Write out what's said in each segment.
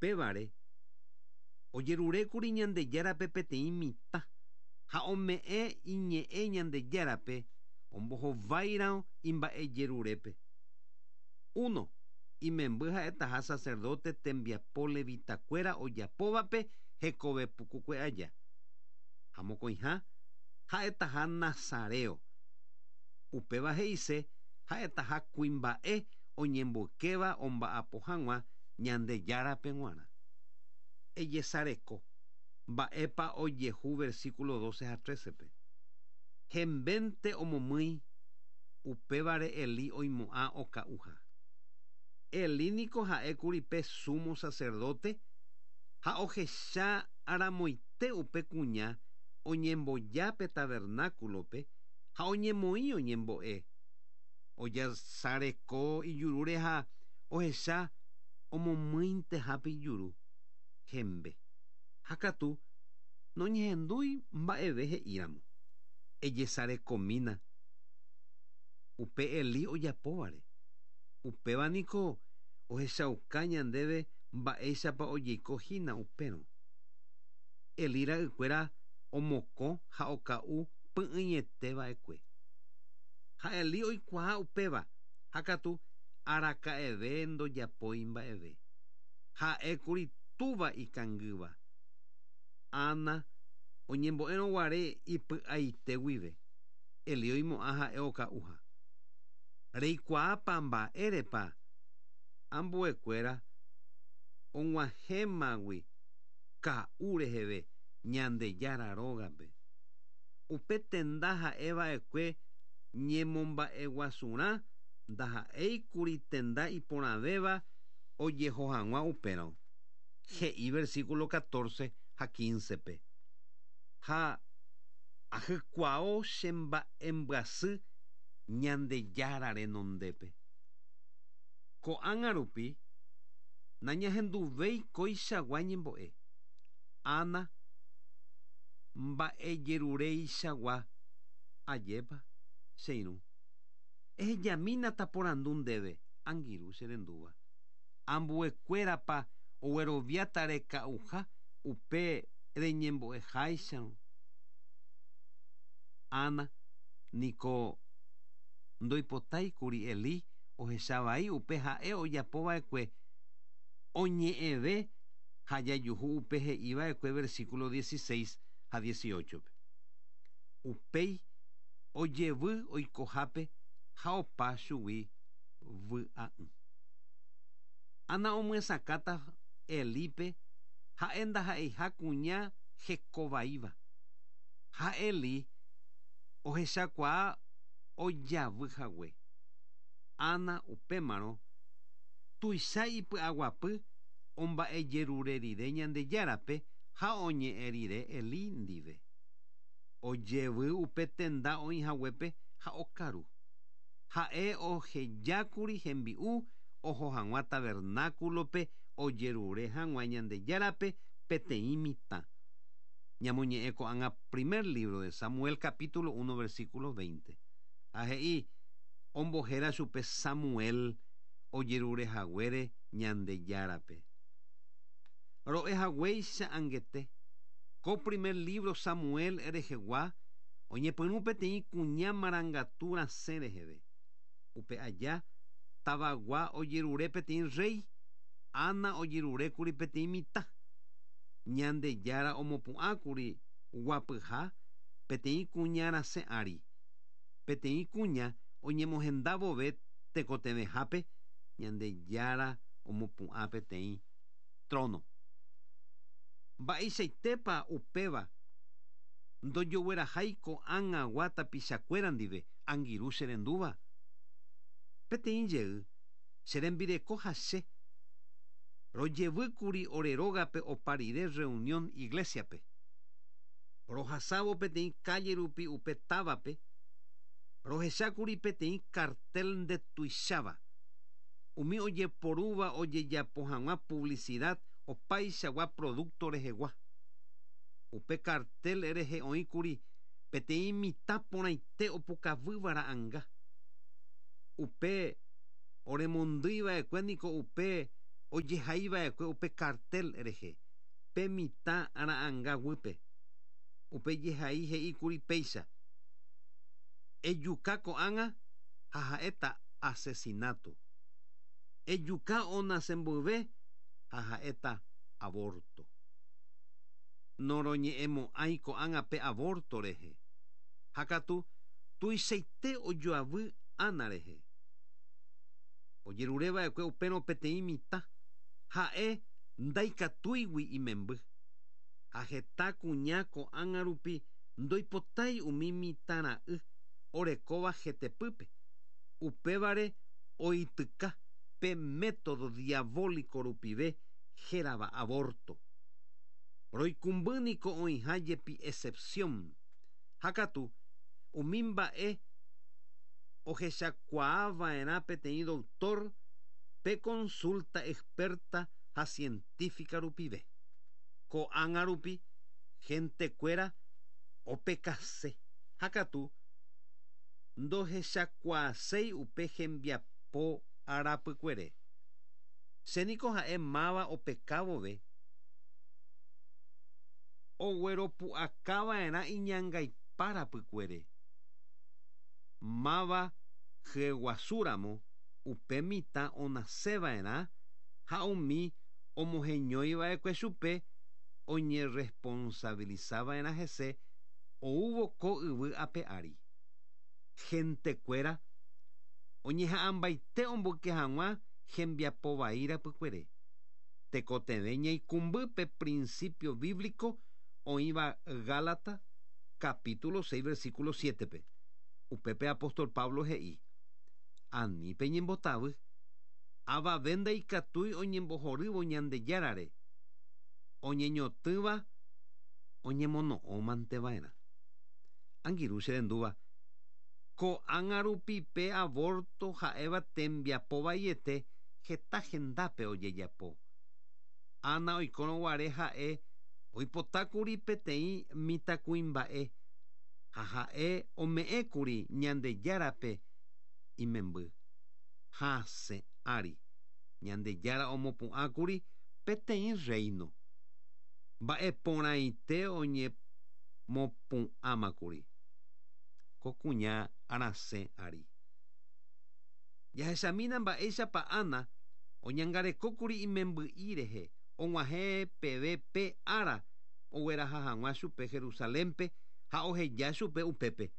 Upévare ojerurékuri Ñandejárape peteĩ mitã ha ome'ẽ iñe'ẽ Ñandejárape ombohováirõ imba'ejerurépe. Uno, imemby ha'etaha sacerdote tembiapo levitakuéra ojapóvape hekove pukukue aja. Ha mokõiha, ha'etaha nazareo. Upéva he'ise ha'etaha kuimba'e oñemboykéva omba'apo hag̃ua Ñandejárape g̃uarã. Ejesareko mba'épa ojehu versículo 12 ha 13-pe. Hembénte omomýi, upévare Elí oimo'ã oka'uha. Elí niko ha'ékuri pe sumo sacerdote ha ohecha ramoite upe kuña oñemboja pe tabernáculo-pe ha oñemoĩ oñembo'e. Ojasareko ijurúre ha ohecha omomýinteha pe ijuru, hembe. Ha katu noñehendúi mba'eve he'íramo. Ejesarekomína upe Elí ojapóvare. Upéva niko ohechauka ñandéve mba'éichapa ojeiko hína upérõ. Elí ra'ykuéra omokõ ha oka'u py'ỹiete va'ekue. Ha Elí oikuaa upéva, ha katu araka'eve ndojapói mba'eve. Ha'ékuri túva ikangýva. Ana oñembo'érõ guare ipy'aite guive, Elí oimo'ã ha'e oka'uha. Reikuaápa mba'érepa ambuekuéra og̃uahẽmagui ka'u reheve Ñandejára rógape? Upe tenda ha'e va'ekue ñemomba'eguasurã ndaha'éikuri tenda iporãvéva ojeho hag̃ua upérõ, he'i versículo 14 ha 15-pe. Ha ahykuao che mba'embyasy Ñandejára renondépe. Ko'ág̃a rupi nañahenduvéi koichagua ñembo'e. Ana mba'ejerureichagua ajépa, che irũ. Ehejamína taporandu ndéve, angirũ che rendúva. Ambuekuérapa ogueroviáta reka'uha upe reñembo'eháicharõ? Ana niko ndoipotáikuri Elí ohecha vai upe ha'e ojapo va'ekue oñe'ẽve ha jajuhu upe he'i va'ekue versículo 16 ha 18-pe. Upéi ojevy oikohápe ha opa chugui vy'a'ỹ. Ana omyesakãta Elípe ha'e ndaha'eiha kuña hekovaíva. Ha Elí ohechakuaa ojavy hague. Ana upémarõ tuicha ipy'aguapy omba'ejerure rire Ñandejárape ha oñe'ẽ rire Elí ndive. Ojevy upe tenda oĩ haguépe ha okaru. Ha'e ohejákuri hembi'u oho hag̃ua tabernáculo-pe ojerure hag̃ua Ñandejárape peteĩ mitã. Ñamoñe'ẽ ko'ág̃a primer libro de Samuel capítulo 1 versículo 20. Ha he'i, Ombohéra chupe Samuel ojerure haguére Ñandejárape. Ro'e haguéicha angete, ko primer libro Samuel rehegua oñepyrũ peteĩ kuña marangatu rasẽ reheve. Upe aja, tavagua ojerure peteĩ rréi, Ana ojerurékuri peteĩ mitã. Ñandejára omopu'ãkuri guapyha peteĩ kuña rasẽ ári. Peteĩ kuña oñemohenda vove tekotevẽhápe, Ñandejára omopu'ã peteĩ trono. Mba'eichaitépa upéva ndojoguerahái ko'ág̃agua tapichakuéra ndive, angirũ che rendúva? Peteĩ jey, che rembireko ha che, rojevýkuri ore rógape opa rire reunión iglesia-pe. Rohasávo peteĩ calle rupi upe távape, rohechákuri peteĩ cartel ndetuicháva, umi ojeporúva ojejapo hag̃ua publicidad opaichagua producto rehegua. Upe cartel rehe oĩkuri peteĩ mitã porãite opukavýva ra'anga. Upe oremondýi va'ekue niko upe Ojehaiva'ekue upe cartel rehe, pe mitã ra'ãnga guýpe. Upe jehai he'íkuri péicha, Ejuka ko'ág̃a ha ha'éta asesinato. Ejuka onase mboyve ha ha'éta aborto. Noroñe'ẽmo'ãi ko'ág̃a pe aborto rehe. Ha katu tuichaite ojoavy Ana rehe. Ojerure va'ekue upérõ peteĩ mitã, ha'e ndaikatúigui imemby. Ha heta kuña ko'ág̃a rupi ndoipotái umi mitãra'y orekóva hetepýpe, upévare oityka pe método diabólico rupive hérava aborto. Roikũmby niko oĩha jepi excepción, ha katu umi mba'e ohechakuaa va'erã peteĩ doktór pe consulta experta ha científica rupive. Ko'ág̃a rupi hentekuéra opekase, ha katu ndohechakuaaséi upe hembiapo arapykuere. Che niko ha'e máva opeka vove, ogueropu'aka va'erã iñangaipa rapykuere. Máva hyeguasúramo upe mitã onaseva'erã ha umi omoheñoiva'ekue chupe oñerresponsavilisava'erã hese oúvo ko yvy ape ári. Hentekuéra oñeha'ãmbaite omboyke hag̃ua hembiapo vai rapykuere. Tekotevẽ ñaikũmby pe principio bíblico oĩva Gálatas capítulo 6 versículo 7-pe. Upépe apóstol Pablo he'i, Ani peñembotavy, avave ndaikatúi oñembohorývo Ñandejárare, oñeñotỹva oñemono'õmante va'erã. Angirũ che rendúva, ko'ág̃a rupi pe aborto ha'éva tembiapo vaiete heta hendápe ojejapo. Ana oikórõ guare ha'e oipotákuri peteĩ mitãkuimba'e ha ha'e ome'ẽkuri Ñandejárape imemby. Hasẽ ári, Ñandejára omopu'ãkuri peteĩ rréino. Mba'e porãite oñemopu'ãmakuri ko kuña rasẽ ári. Jahechamína mba'éichapa Ana oñangarekókuri imemby'i rehe og̃uahẽ peve pe ára ogueraha hag̃ua chupe Jerusalénpe ha oheja chupe upépe,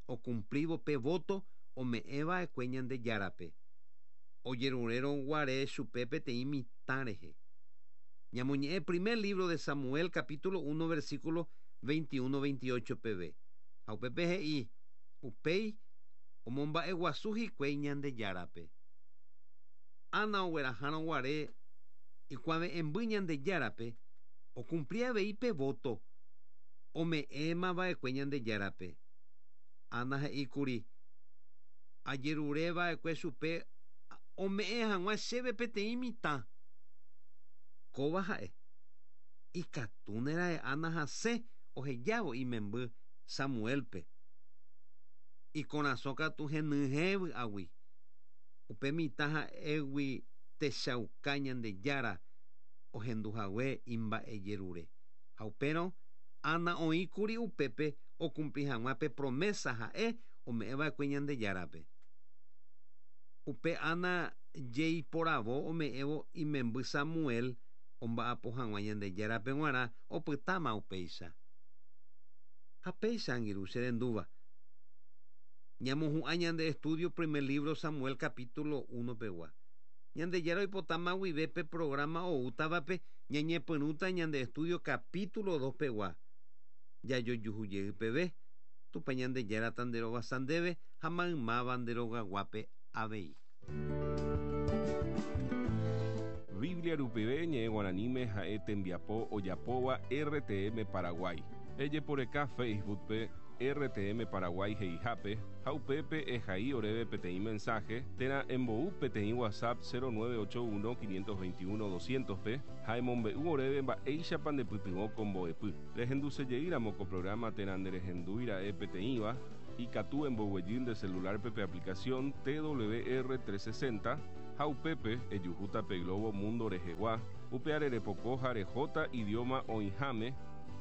okumplívo pe vóto ome'ẽ va'ekue Ñandejárape, ojerurérõ guare chupe peteĩ mitã rehe. Ñamoñe'ẽ primer lívro de Samuel capítulo uno versículo 21, 28 peve. Ha upépe he'i, Upéi omomba'eguasu hikuái Ñandejárape. Ana oguerahárõ guare ikuave'ẽmby Ñandejárape, okumpli avei pe vóto ome'ẽma va'ekue Ñandejárape. Ana he'i kuri, Ajerure va'ekue chupe ome'ẽ hag̃ua chéve peteĩ mitã. Kóva ha'e, ikatúne ra'e Ana hasẽ ohejávo imemby Samuélpe. Ikorasõ katu henyhẽ vy'águi. Upe mitã ha'égui techauka Ñandejára ohendu hague imba'ejerure. Ha upérõ Ana oĩkuri upépe okumpli hag̃ua pe promésa ha'e ome'ẽva'ekue Ñandejárape. Upe Ana jeiporavo ome'ẽvo imemby Samuel omba'apo hag̃ua Ñandejárape g̃uarã opytáma upéicha. Ha péicha, angirũ che rendúva, ñamohu'ã ñande estudio primer libro Samuel capítulo uno pegua. Ñandejára oipotáma guive pe programa oútavape ñañepyrũta ñande estudio capítulo dos pegua. Jajojuhu jey peve, Tupã Ñandejára tanderovasa ndéve ha maymáva nde rogaguápe avei. Biblia rupive ñe'ẽ guaraníme ha'e tembiapo ojapóva RTM Paraguay. Ejeporeka Facebook-pe RTM Paraguay he'ihápe ha upépe ehai oréve peteĩ mensaje térã embou peteĩ WhatsApp 0981 521 200-pe ha emombe'u oréve mba'éichapa ndepytyvõ ko mbo'epy. Rehendusejeýramo ko programa térã nderehendúira'e peteĩva, ikatu emboguejy nde celular-pe pe aplicación TWR 360. Ha upépe ejuhúta pe globo mundo rehegua, upeare repoko ha rehóta idioma oĩháme,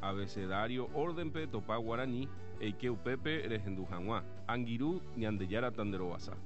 abecedario orden-pe topa guarani, eike upépe rehendu hag̃ua. Angirũ, Ñandejára tanderovasa.